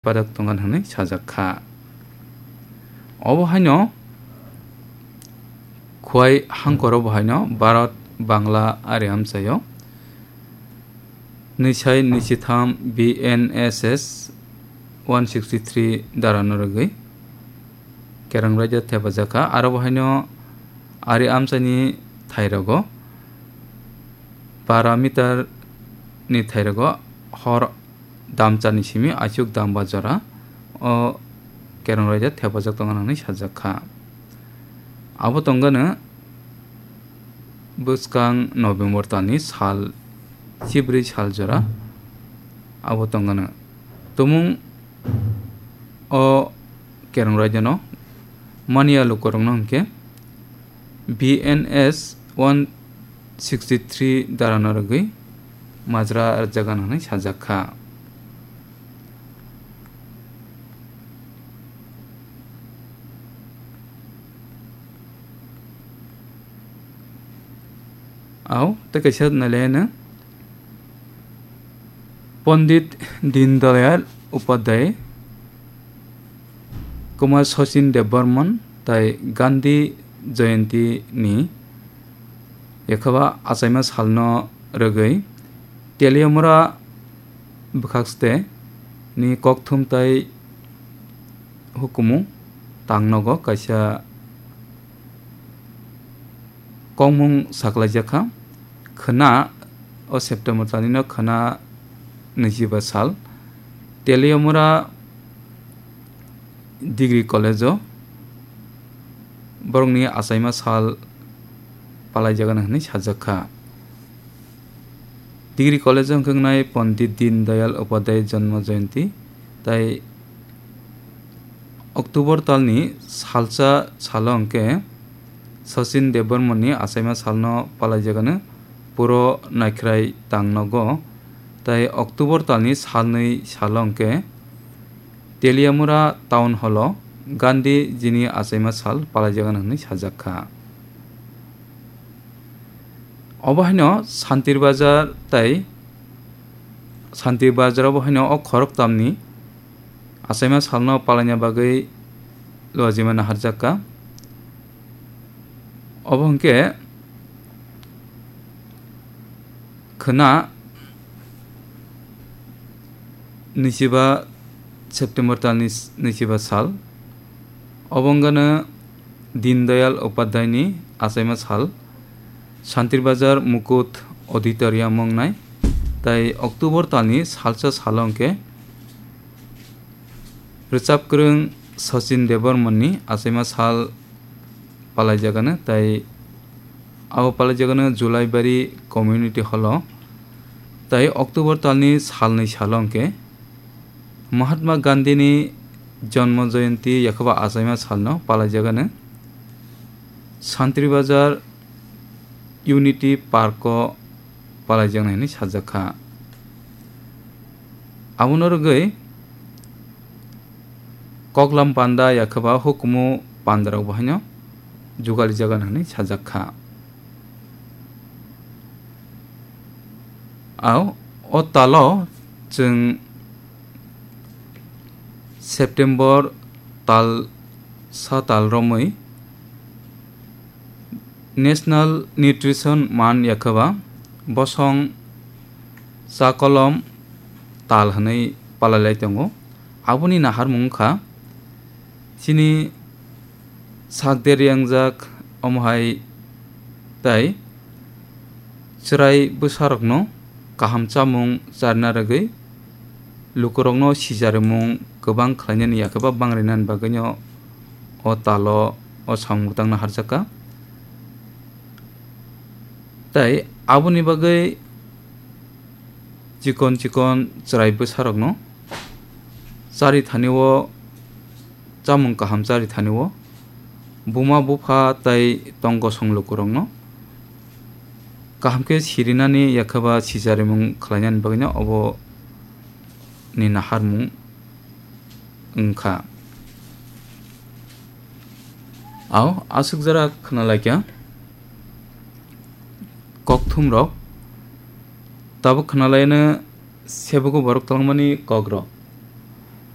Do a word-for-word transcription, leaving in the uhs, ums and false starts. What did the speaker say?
padak tongan hwnwi sajak kha. Obo haino Khwai hangkoro bo haino Bharat, Bangla ari amchaio nwisai nwisitham B N S S one sixty three darano rwgwi Kereng raida thepajak kha. Aro bo haino ari amchaini thairogo bara meter ni thairogo hor damchani simi aichuk damba jora o Kereng raida thepajak tongo hwnwi sajak kha. Abo tongano bwskang November talni sal chibrwi sal jora abo tongano. Tumung o Kereng raidano mania lukurokno hwnkhe B N S one sixty three darano rwgwi majra rwjak gana hwnwi sajak kha. Au tei kaisa nailaino Pondit Dindayal Upadhyay, Kumar Sachin Debbarman tai Gandhi Jayanti ni yakhaba achaima salno rwgwi Teliamura bwkhakste ni kokthum tai hukumu tangnogo kaisa kokmung saklaijak kha. Khwna o September talnino khwna nwichiba sal Teliamura Degree College-o borokni achaima sal palaijagano hwnwi sajak kha. Degree College-o wngkha wngnai Pondit Dindayal Upadhyay Janma Jayanti, tai October talni salsa salo hwnkhe Sachin Debbarmani achaima salno palaijagano puro naikhrai tangnogo, tai October talni salnwi salo hwnkhe Teliamura Town Hall-o Gandhi jini achaima sal palaijagano hwnwi sajak kha. Obo haino Santir Bazar tai Santir Bazar obo haino o khoroktamni achaima salno palaina bagwi lojima naharjak kha. Obo hwnkhe khwna nwichiba September talni s-, nwichiba sal. Obo wngkha no Dindayal Upadhyayni achaima sal, Santir Bazar Mukut Auditorium wngnai, tai October talni salsa salo hwnkhe rwchapkwrwng Sachin Debbarmani achaima sal palaijagano, tai abo palaijagano Julaibari Community Hall-o, tai October talni salnwi salo hwnkhe Mahatma Gandhini Janma Jayanti yakhaba achaima salno palaijagano Santri Bazar Unity Park-o palaijaknai hwnwi sajak kha. Abono rwgwi koklam panda yakhaba hukumu pandarok bo haino jugalijagano hwnwi sajak kha. Au, o talo chwng September tal sa tal romwi National Nutrition Month yakhaba bosong chakolom tal hwnwi palailai tongo. Aboni naharmung wngkha chini sak der yangjak, omo hai tai chwrai bwsarokno kaham chamung charwna rwgwi lukurokno sicharimung kwbang khlainani yakheba bangrinani bagwino o talo o samung bwtangno harjakha. Tai aboni bagwi chikon chikon chwrai bwsarokno chari thani o, chamung kaham chari thani o, buma bupha tai tong kosong lukurokno kaham khe sirinani yakheba sicharimung khlainani bagwino obo ni naharmung wngkha. Au, aswk jora khwnalaikha kokthumrok, tabuk khwnalaino sebugo borok twlangmani kokrok.